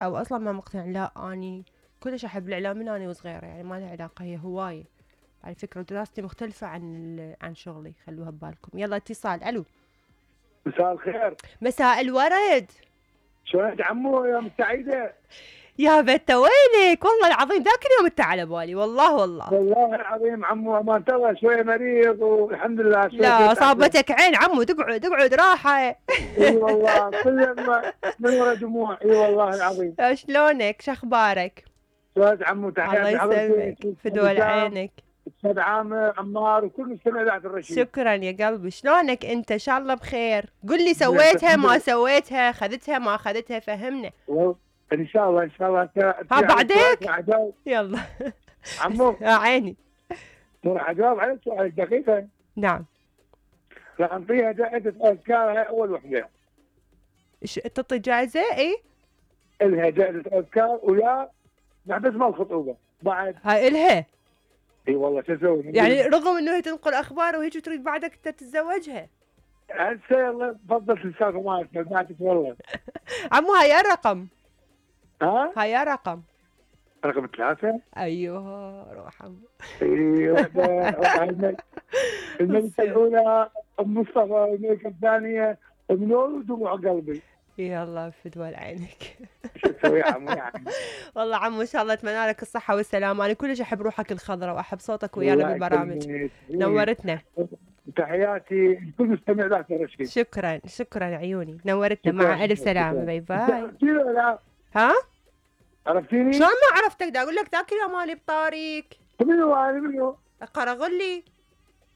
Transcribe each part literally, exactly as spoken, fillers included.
او اصلا ما مقتنع، لا اني كلش احب الاعلام من اني وصغيره، يعني ما لها علاقه، هي هوايه على فكره، ودراستي مختلفه عن عن شغلي، خلوها ببالكم. يلا اتصال. الو. مساء الخير. مساء الورد. شلونك عمو يا سعيده؟ يا بت وينك؟ والله العظيم ذاك اليوم انت على بالي، والله والله والله العظيم عمو ما ترى شويه مريض والحمد لله. لا صابتك عين عمو، تقعد تقعد راحه. اي والله كل من ورا دموع. اي والله العظيم. شلونك؟ شخبارك؟ شلونك عمو؟ تحياتي الله يسلمك، فدول عينك. استاذ عامر عمار وكل مستمع اذاعه الرشيد. شكرا يا قلبي. شلونك انت؟ ان شاء الله بخير. قل لي سويتها ما سويتها، خذتها ما خذتها، فهمنا. ان شاء الله ان شاء الله. ها بعدك يلا عمو. يا عيني راح اجاوب على سؤال دقيقه. نعم. راح نعطيها جائزه اذكار، هاي اول وحده. ايش تعطي جائزه؟ اي الها جائزه اذكار، ويا نحبس مال الخطوبه بعد. هاي الها. اي والله شو اسوي يعني رغم انه هي تنقل اخبار وهيك تريد بعدك انت تتزوجها؟ هسه يلا تفضل تنساك ما سمعتك والله. عمو هاي الرقم. ها؟ هاي رقم. رقم ثلاثة؟ ايوه روح عمو. اي وحده. الملكة الأولى أم مصطفى، والملكة الثانية أم نور ودموع قلبي. يلا فدوى عينك. شو تسوي يا عمو يعني؟ والله عمو ان شاء الله اتمنى لك الصحة والسلامة، انا كلش احب روحك الخضراء واحب صوتك ويانا بالبرامج. نورتنا. تحياتي لكل مستمع ذاك الرشيد. شكرا شكرا عيوني، نورتنا. مع الف سلامة. باي باي. ها؟ عرفتيني؟ شلون ما عرفتك؟ دا اقول لك ذاك اليوم مالي بطاريق. منو انا منو؟ قرغلي.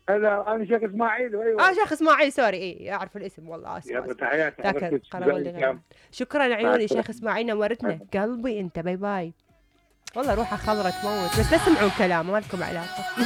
هلا انا شيخ اسماعيل. ايوه اه شيخ اسماعيل، سوري. اي اعرف الاسم والله. اسف. يلا تحياتي. ذاك قرغلي. شكرا عيوني شيخ اسماعيل، نورتنا قلبي انت. باي باي. والله روحه خضرة تموت، بس لا تسمعون كلام ما لكم علاقة.